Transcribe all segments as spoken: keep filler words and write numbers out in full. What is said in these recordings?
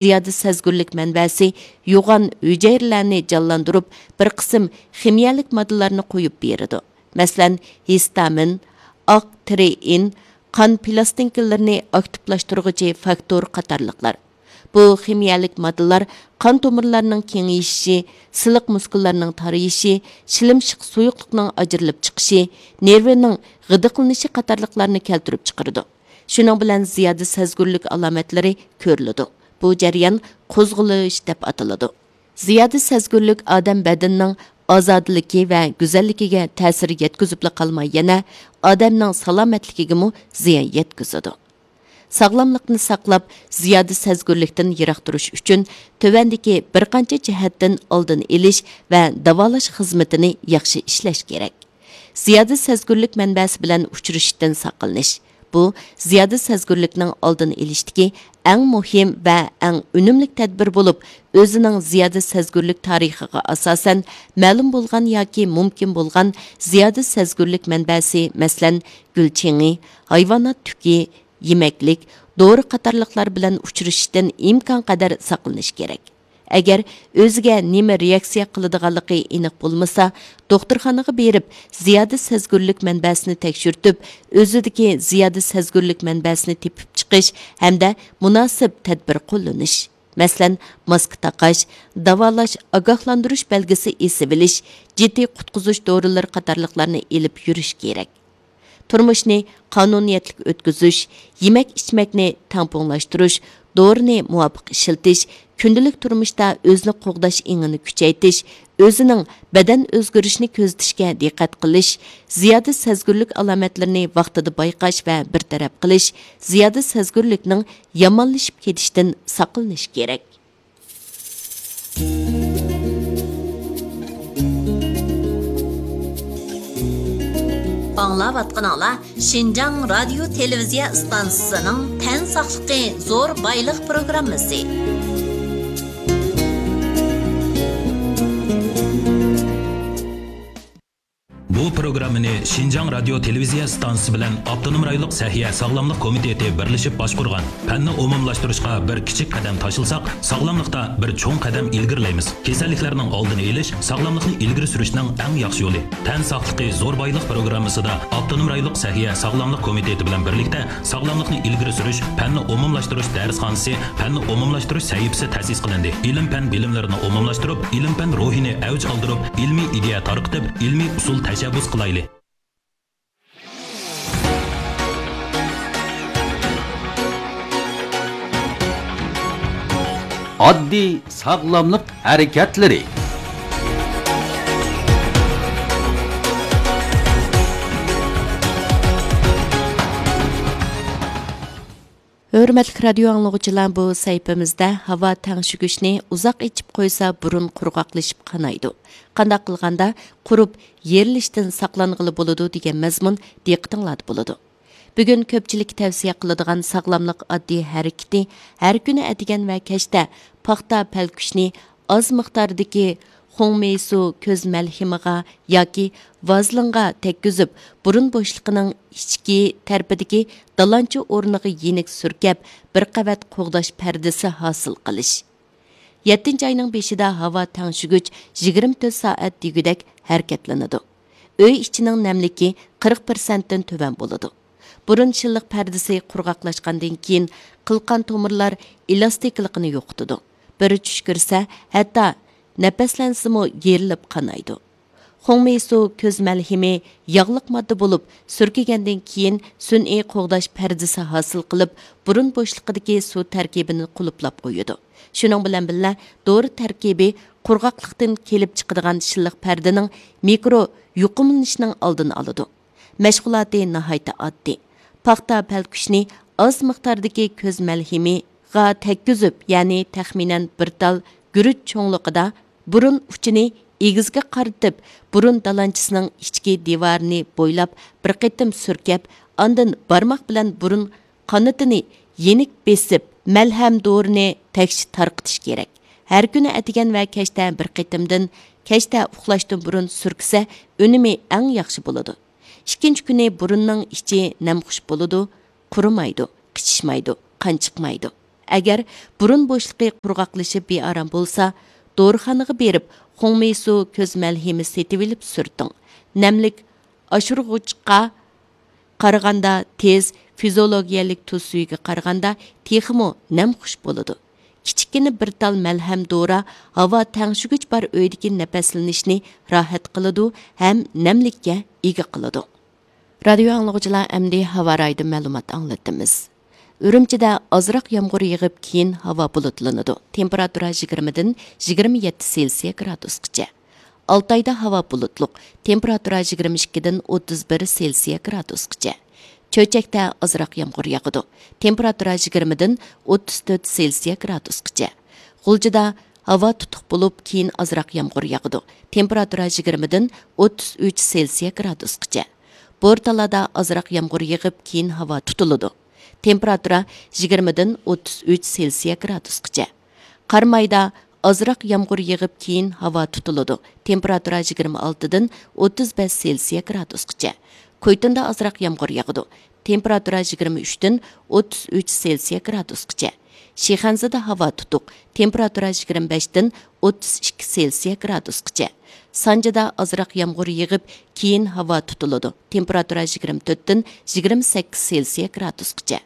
زىيادە سەزگۈرلۈك مەنبەسى يوغان ھۈجەيرىلەرنى جانلاندۇرۇپ، بىر قىسىم خىمىيەلىك ماددىلارنى قويۇپ بېرىدۇ. مەسىلەن، ھېستامىن، ئاق تىرېئىن، قان پىلاستىنكىلىرىنى ئاكتىپلاشتۇرغۇچى فاكتور قاتارلىقلار. بۇ خىمىيەلىك ماددىلار قان تومۇرلارنىڭ كېڭىيىشى، سىلىق مۇسكۇللارنىڭ تارىيىشى، شىلىمشىق سۇيۇقلۇقنىڭ ئاجرىلىپ چىقىشى، نېرۋىنىڭ غىدىقلىنىشى قاتارلىقلارنى كەلتۈرۈپ چىقىرىدۇ. شۇنىڭ بىلەن زىيادە سەزگۈرلۈك ئالامەتلىرى كۆرۈلىدۇ. بۇ جەريان قوزغىلىش دەپ ئاتىلىدۇ. زىيادە سەزگۈرلۈك ئادەم بەدىنىنىڭ ئازادىلىكى ۋە گۈزەللىكىگە تەسىر يەتكۈزۈپلا قالماي، يەنە ئادەمنىڭ سالامەتلىكىگىمۇ زىيان يەتكۈزىدۇ. ساغلاملىقنى ساقلاپ، زىيادە سەزگۈرلۈكتىن يىراق تۇرۇش ئۈچۈن تۆۋەندىكى بىر قانچە جەھەتتىن ئالدىنى ئېلىش ۋە داۋالاش خىزمىتىنى ياخشى ئىشلەش كېرەك. زىيادە سەزگۈرلۈك مەنبەسى بىلەن ئۇچرىشىشتىن ساقلىنىش. بۇ زىيادە سەزگۈرلۈكنىڭ ئالدىنى ئېلىشتىكى ئەڭ مۇھىم ۋە ئەڭ ئۈنۈملۈك تەدبىر بولۇپ، ئۆزىنىڭ زىيادە سەزگۈرلۈك تارىخىغا ئاساسەن، مەلۇم بولغان ياكى مۇمكىن بولغان زىيادە سەزگۈرلۈك مەنبەسى، مەسىلەن، گۈل چېڭى، ھايۋانات تۈكى، يېمەكلىك، دورا قاتارلىقلار بىلەن ئۇچرىشىشتىن ئىمكانقەدەر ساقلىنىش كېرەك. ئەگەر ئۆزىگە نېمە رېئاكسىيە قىلىدىغانلىقى ئېنىق بولمىسا، دوختۇرخانىغا بېرىپ، زىيادە سەزگۈرلۈك مەنبەسىنى تەكشۈرتۈپ، ئۆزىدىكى زىيادە سەزگۈرلۈك مەنبەسىنى تېپىپ چىقىش ھەمدە مۇناسىپ تەدبىر قوللىنىش. مەسىلەن، ماسكا تاقاش، داۋالاش، ئاگاھلاندۇرۇش بەلگىسى ئېسىۋېلىش، جىددىي قۇتقۇزۇش دورىلىرى قاتارلىقلارنى ئېلىپ يۈرۈش كېرەك. تۇرمۇشنى قانۇنىيەتلىك ئۆتكۈزۈش، يېمەك-ئىچمەكنى تەڭپۇڭلاشتۇرۇش، دورىنى مۇۋاپىق ئىشلىتىش، كۈندىلىك تۇرمۇشتا ئۆزىنى قوغداش ئېڭىنى كۈچەيتىش، ئۆزىنىڭ بەدەن ئۆزگىرىشىنى كۆزىتىشكە دىققەت قىلىش، زىيادە سەزگۈرلۈك ئالامەتلىرىنى ۋاقتىدا بايقاش ۋە بىر تەرەپ قىلىش، زىيادە سەزگۈرلۈكنىڭ يامانلىشىپ كېتىشتىن ساقلىنىش كېرەك. ئاڭلاۋاتقىنىڭلار شىنجاڭ رادىيو تېلېۋىزىيە ئىستانسىسىنىڭ تەن ساقلىقى زور بايلىق پروگراممىسى. بۇ پروگراممىنى شىنجاڭ رادىيو تېلېۋىزىيە ئىستانسىسى بىلەن ئاپتونوم رايونلۇق سەھىيە ساغلاملىق كومىتېتى بىرلىشىپ باشقۇرغان. پەننى ئومۇملاشتۇرۇشقا بىر كىچىك قەدەم تاشلىساق، ساغلاملىقتا بىر چوڭ قەدەم ئىلگىرىلەيمىز. كېسەللىكلەرنىڭ ئالدىنى ئېلىش، ساغلاملىقنى ئىلگىرى سۈرۈشنىڭ ئەڭ ياخشى يولى. تەن ساقلىقى زور بايلىق پروگراممىسىدا ئاپتونوم رايونلۇق سەھىيە ساغلاملىق كومىتېتى بىلەن بىرلىكتە ساغلاملىقنى ئىلگىرى سۈرۈش، پەننى ئومۇملاشتۇرۇش دەرسخانىسى، پەننى ئومۇملاشتۇرۇش سەھىپىسى تەسىس قىلىندى. ئىلىم-پەن بىلىملىرىنى ئومۇملاشتۇرۇپ، ئىلىم-پەن روھىنى ئەۋج ئالدۇرۇپ، ئىلمىي ئىدىيە تارقىتىپ، ئىلمىي ئۇسۇل تەشەببۇس قىلايلى. ئاددىي ساغلاملىق ھەرىكەتلىرى. ھۆرمەتلىك رادىيو ئاڭلىغۇچىلار، بۇ سەھىپىمىزدە ھاۋا تەڭشىگۈچنى ئۇزاق ئېچىپ قويسا بۇرۇن قۇرغاقلىشىپ قانايدۇ. قانداق قىلغاندا قۇرۇپ يېرىلىشتىن ساقلانغىلى بولىدۇ دېگەن مەزمۇن دىققىتىڭلاردا بولىدۇ. بۈگۈن كۆپچىلىككە تەۋسىيە قىلىدىغان ساغلاملىق ئاددىي ھەرىكىتى ھەر كۈنى ئەتىگەن ۋە كەچتە پاختا پەلكۈشنى ئاز مىقداردىكى خۇڭمېيسۇ كۆز مەلھىمىغا ياكى ۋازلىنغا تەگكۈزۈپ، بۇرۇن بوشلۇقىنىڭ ئىچكى تەرىپىدىكى دالانچا ئورنىغا يېنىك سۈركەپ، بىر قەۋەت قوغداش پەردىسى ھاسىل قىلىش. يەتتىنچى ئاينىڭ بېشىدا ھاۋا تەڭشىگۈچ يىگىرمە تۆت سائەت دېگۈدەك ھەرىكەتلىنىدۇ. ئۆي ئىچىنىڭ نەملىكى قىرىق پىرسەنتتىن تۆۋەن بولىدۇ. بۇرۇن شىللىق پەردىسى قۇرغاقلاشقاندىن كېيىن، قىلقان تومۇرلار ئېلاستىكىلىقىنى يوقىتىدۇ. بىر چۈشكۈرسە، ھەتتا نەپەسلەنسىمۇ يېرىلىپ قانايدۇ. خۇڭمېيسۇ كۆز مەلھىمى ياغلىق ماددا بولۇپ، سۈركىگەندىن كېيىن سۈنئىي قوغداش پەردىسى ھاسىل قىلىپ، بۇرۇن بوشلۇقىدىكى سۇ تەركىبىنى قۇلۇپلاپ قويىدۇ. شۇنىڭ بىلەن بىللە، دورا تەركىبى قۇرغاقلىقتىن كېلىپ چىقىدىغان شىللىق پەردىنىڭ مىكرو يۇقۇملىنىشىنىڭ ئالدىنى ئالىدۇ. مەشغۇلاتى ناھايىتى ئاددىي. پاختا پەلكۈشنى ئاز مىقداردىكى كۆز مەلھىمىغا تەگكۈزۈپ، يەنى تەخمىنەن بىر تال گۈرۈچ چوڭلۇقىدا، بۇرۇن ئۇچىنى ئېگىزگە قارىتىپ، بۇرۇن دالانچىسىنىڭ ئىچكى دىۋارىنى بويلاپ بىر قېتىم سۈركەپ، ئاندىن بارماق بىلەن بۇرۇن قانىتىنى يېنىك بېسىپ، مەلھەم دورىنى تەكشى تارقىتىش كېرەك. ھەر كۈنى ئەتىگەن ۋە كەچتە بىر قېتىمدىن، كەچتە ئۇخلاشتىن بۇرۇن سۈركىسە، ئۈنۈمى ئەڭ ياخشى بولىدۇ. ئىككىنچى كۈنى بۇرۇننىڭ ئىچى نەمخۇش بولىدۇ، قۇرۇمايدۇ، قىچىشمايدۇ، قان چىقمايدۇ. ئەگەر بۇرۇن بوشلۇقى قۇرغاقلىشىپ بىئارام بولسا، دورىخانىغا بېرىپ خۇڭمېيسۇ كۆز مەلھىمى سېتىۋېلىپ سۈرتۈڭ. نەملىك ئاشۇرغۇچقا قارىغاندا تېز، فىزىئولوگىيەلىك تۇز سۈيىگە قارىغاندا تېخىمۇ نەمخۇش بولىدۇ. كىچىككىنە بىر تال مەلھەم دورا ھاۋا تەڭشىگۈچ بار ئۆيدىكى نەپەسلىنىشنى راھەت قىلىدۇ ھەم نەملىككە ئىگە قىلىدۇ. رادىيو ئاڭلىغۇچىلار، ئەمدى ھاۋا رايىدا مەلۇمات ئاڭلىتىمىز. ئۈرۈمچىدە ئازراق يامغۇر يېغىپ، كېيىن ھاۋا بۇلۇتلىنىدۇ. تېمپېراتۇرا يىگىرمىدىن يىگىرمە يەتتە سېلسىيە گرادۇسقىچە. ئالتايدا ھاۋا بۇلۇتلۇق. تېمپېراتۇرا يىگىرمە ئىككىدىن ئوتتۇز بىر سېلسىيە گرادۇسقىچە. چۆچەكتە ئازراق يامغۇر ياغىدۇ. تېمپېراتۇرا يىگىرمىدىن ئوتتۇز تۆت سېلسىيە گرادۇسقىچە. غۇلجىدا ھاۋا تۇتۇق بولۇپ، كېيىن ئازراق يامغۇر ياغىدۇ. تېمپېراتۇرا يىگىرمىدىن ئوتتۇز ئۈچ سېلسىيە گرادۇسقىچە. بورتالادا ئازراق يامغۇر يېغىپ، كېيىن ھاۋا تۇتۇلىدۇ. تېمپېراتۇرا يىگىرمىدىن ئوتتۇز ئۈچ سېلسىيە گرادۇسقىچە. قارامايدا ئازراق يامغۇر يېغىپ، كېيىن ھاۋا تۇتۇلىدۇ. تېمپېراتۇرا يىگىرمە ئالتىدىن ئوتتۇز بەش سېلسىيە گرادۇسقىچە. كويتۇندا ئازراق يامغۇر ياغىدۇ. تېمپېراتۇرا يىگىرمە ئۈچتىن ئوتتۇز ئۈچ سېلسىيە گرادۇسقىچە. شىخەنزىدە ھاۋا تۇتۇق. تېمپېراتۇرا يىگىرمە بەشتىن ئوتتۇز ئىككى سېلسىيە گرادۇسقىچە. سانجىدا ئازراق يامغۇر يېغىپ، كېيىن ھاۋا تۇتۇلىدۇ. تېمپېراتۇرا يىگىرمە تۆتتىن يىگىرمە سەككىز سېلسىيە گرادۇسقىچە.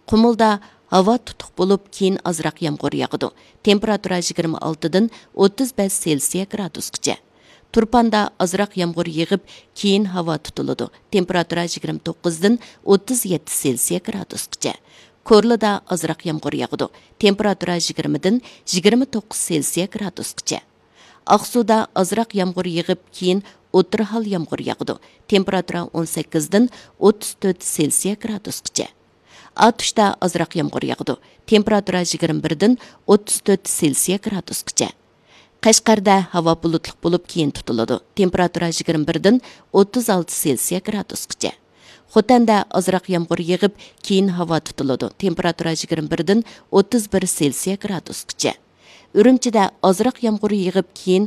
قۇمۇلدا ھاۋا تۇتۇق بولۇپ، كېيىن ئازراق يامغۇر ياغىدۇ. تېمپېراتۇرا يىگىرمە ئالتىدىن ئوتتۇز بەش سېلسىيە گرادۇسقىچە. تۇرپاندا ئازراق يامغۇر يېغىپ، كېيىن ھاۋا تۇتۇلىدۇ. تېمپېراتۇرا يىگىرمە توققۇزدىن ئوتتۇز يەتتە سېلسىيە گرادۇسقىچە. كورلىدا ئازراق يامغۇر ياغىدۇ. تېمپېراتۇرا يىگىرمىدىن يىگىرمە توققۇز سېلسىيە گرادۇسقىچە. ئاقسۇدا ئازراق يامغۇر يېغىپ، كېيىن ئوتتۇرا ھال يامغۇر ياغىدۇ. تېمپېراتۇرا ئون سەككىزدىن ئوتتۇز تۆت سېلسىيە گرادۇسقىچە. ئاتۇشتا ئازراق يامغۇر ياغىدۇ. تېمپېراتۇرا يىگىرمە بىردىن ئوتتۇز تۆت سېلسىيە گرادۇسقىچە. قەشقەردە ھاۋا بۇلۇتلۇق بولۇپ، كېيىن تۇتۇلىدۇ. تېمپېراتۇرا يىگىرمە بىردىن ئوتتۇز ئالتە سېلسىيە گرادۇسقىچە. خوتەندە ئازراق يامغۇر يېغىپ، كېيىن ھاۋا تۇتۇلىدۇ. تېمپېراتۇرا يىگىرمە بىردىن ئوتتۇز بىر سېلسىيە گرادۇسقىچە. ئۈرۈمچىدە ئازراق يامغۇر يېغىپ، كېيىن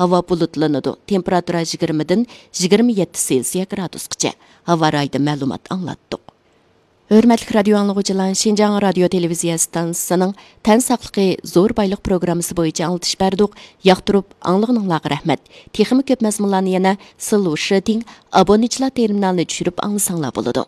ھاۋا بۇلۇتلىنىدۇ. تېمپېراتۇرا يىگىرمىدىن يىگىرمە يەتتە سېلسىيە گرادۇسقىچە. ھاۋا رايىدا مەلۇمات ئاڭلاتتۇق. ھۆرمەتلىك رادىيو ئاڭلىغۇچىلار، شىنجاڭ رادىيو تېلېۋىزىيە ئىستانسىسىنىڭ تەن ساقلىقى زور بايلىق پروگراممىسى بويىچە ئاڭلىتىش بەردۇق. ياقتۇرۇپ ئاڭلىغىنىڭلارغا رەھمەت. تېخىمۇ كۆپ مەزمۇنلارنى يەنە سىلۇ شىتىڭ ئابونېنتچىلار تېرمىنالىنى چۈشۈرۈپ ئاڭلىساڭلار بولىدۇ.